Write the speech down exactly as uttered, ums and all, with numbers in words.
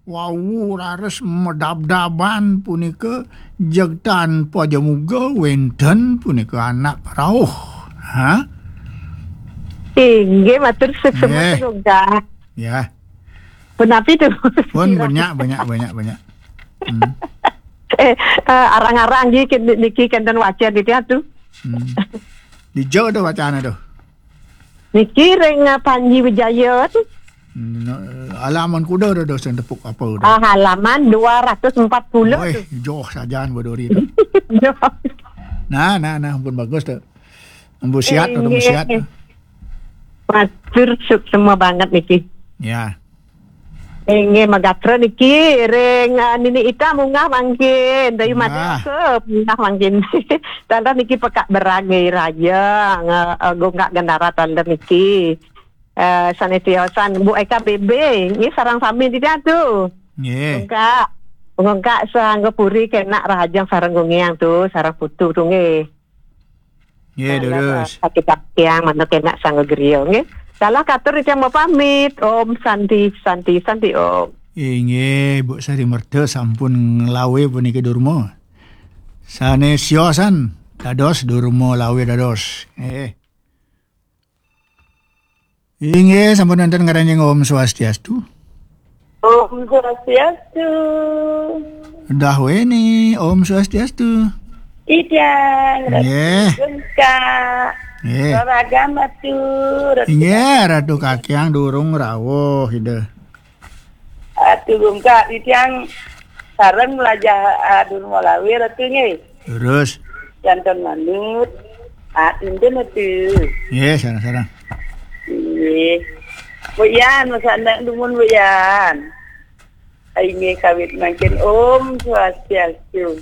Wau raris madabdaban punika, jeg tanpa jamuga wenten punika anak rauh. Ha? Inggih, matur suksma. Nggih. Semoga. Ya. Punapi tu? Pun banyak, banyak, banyak, banyak. Hmm. Eh, eh, arang-arang nggih ken-, niki kenten wacén niki atuh. Hmm. Dija tu wacana tu? Niki ring, eh, Panji Wijaya tu. Hmm, alaman kuda tu, tu sing tepuk apa tu? Ah, halaman dua ratus empat puluh. Weh, tu. Joh sajaan baduri tu. Joh. Nah, nah, nah, ampun bagus tu. Ampun sihat tu, ampun sihat. Inggih. Matur suksma banget niki. Ya. Inggih, magatra niki ring, ah, Nini Ita munggah mangkin. Dayu Made ke munggah mangkin. Taler niki Pekak Berang nggih raja, nge-, eh, gonggak gendara taler niki. Eh, sané tiosan Bu Eka B B, nggih sareng sami di tu. Nggih. Ungkak, ungkak sangga puri kenak rahajeng sareng gungiang tu, sareng putu tu nggih. Nggih, nah, terus. Sakit tiang mantuk enak sangga griya, nggih. Salah katur tiang mapamit. Om Santi, Santi, Santi Om. Inggih, Bu Sari Merta sampun nglawe puniki durma. Sané siosan dados durma lawe dados. Nggih. Inggih, sampun wonten ngranjing Om Swastiastu. Om Swastiastu. Dahweni, Om Swastiastu. Titiang, nggih. Ratu Gungkak. Nggih. Raragam atur. Inggih, Ratu Kakiang durung rawuh, Ida. Ratu Gungkak, titiang sareng mlajah, ah, durma lawe, Ratu nggih. Terus. Janten manut. Ah, inten Ratu. Nggih, sareng-sareng. Nggih. Bu Yan, masana dumun Bu Yan. Inggih kawit mangkin Om Swastiastu.